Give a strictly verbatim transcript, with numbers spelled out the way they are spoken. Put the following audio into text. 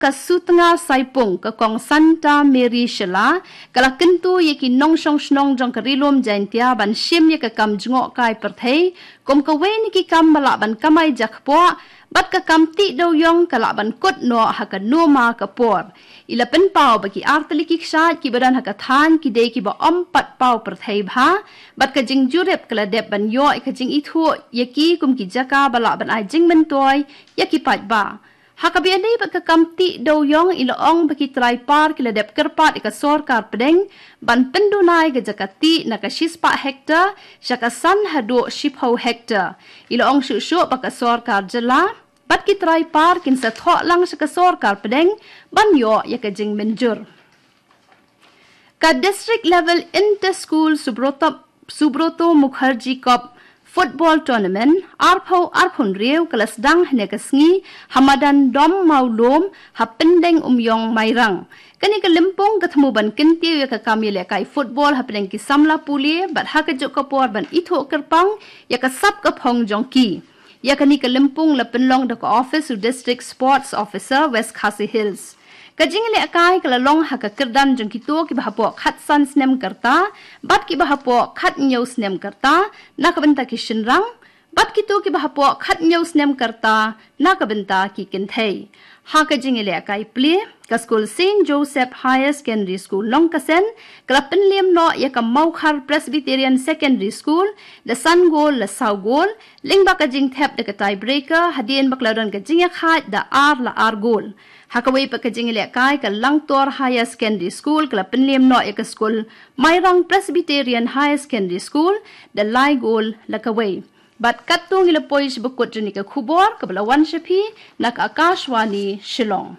ka Sutnga Saipung, ka Kong Santa Mary Shylla, ka la kyntu ïa ki nongshong shnong jong ka Ri Lum Jaintia ban shim ïa ka kam jngohkai pyrthei kum kawei na ki kam ba lah ban kamai jakpoh, bad ka kam tih dewïong ka lah ban kut noh ha kano ma ka por. I la pynpaw ba ki artylli ki kshaid kiba don ha ka thaiñ ki dei kiba ym pat paw pyrthei bha, bad ka jingjurip ka la dep ban ïoh ïa ka jingithuh ïa ki kum ki jaka ba lah ban ai jingmyntoi ïa ki paidbah. Ha kaba ïadei bad ka kam tih dewïong, i la ong ba ki trai par ki la dep kyrpad ïa ka sorkar pdeng ban pynduna ïa ka jaka tih na ka shispah hektar sha ka san haduh shiphew hektar. I la ong shuh shuh ba ka sorkar jylla bad ki trai par kin sa thoh lang sha ka sorkar pdeng ban ïoh ïa ka jingmynjur. Ka District Level Inter-School Subroto, Subroto Mukherjee Cup Football Tournament arphew arphew hynriew ka la sdang hynne ka sngi ha madan Dom Mawlum ha Pyndeng Umïong, Mairang. Kane ka lympung ka thmu ban kyntiew ïa ka kam ïalehkai football hapdeng ki samla pule bad ha kajuh ka por ban ithuh kyrpang ïa ka sap ka phong jong ki. Ïa kane ka lympung la pynlong da ka office u District Sports Officer, West Khasi Hills. Ka jingïalehkai ka la long ha ka kyrdan jong kito kiba hapoh khatsan snem ka rta bad kiba hapoh khathynñiew snem ka rta na ka bynta ki shynrang, bad kito kiba hapoh khathynñiew snem ka rta na ka bynta ki kynthei. Ha ka jingïalehkai plie, ka skul Saint Joseph Higher Secondary School Nongkasen ka la pynliem noh ïa ka Mawkhar Presbyterian Secondary School da san gol la saw gol, lyngba ka jingthep da ka tiebreaker hadien ba ka la don ka jingïakhaid da ar la ar gol. Ha kawei pat ka jingïalehkai, ka Langtor Higher Secondary School ka la pynliem noh ïa ka skul Mairang Presbyterian Higher Secondary School da lai gol la kawei. Bad katto ngi la poi sha ba kut jong kane ka khubor kaba la wan sha phi na ka Akashvani Shillong.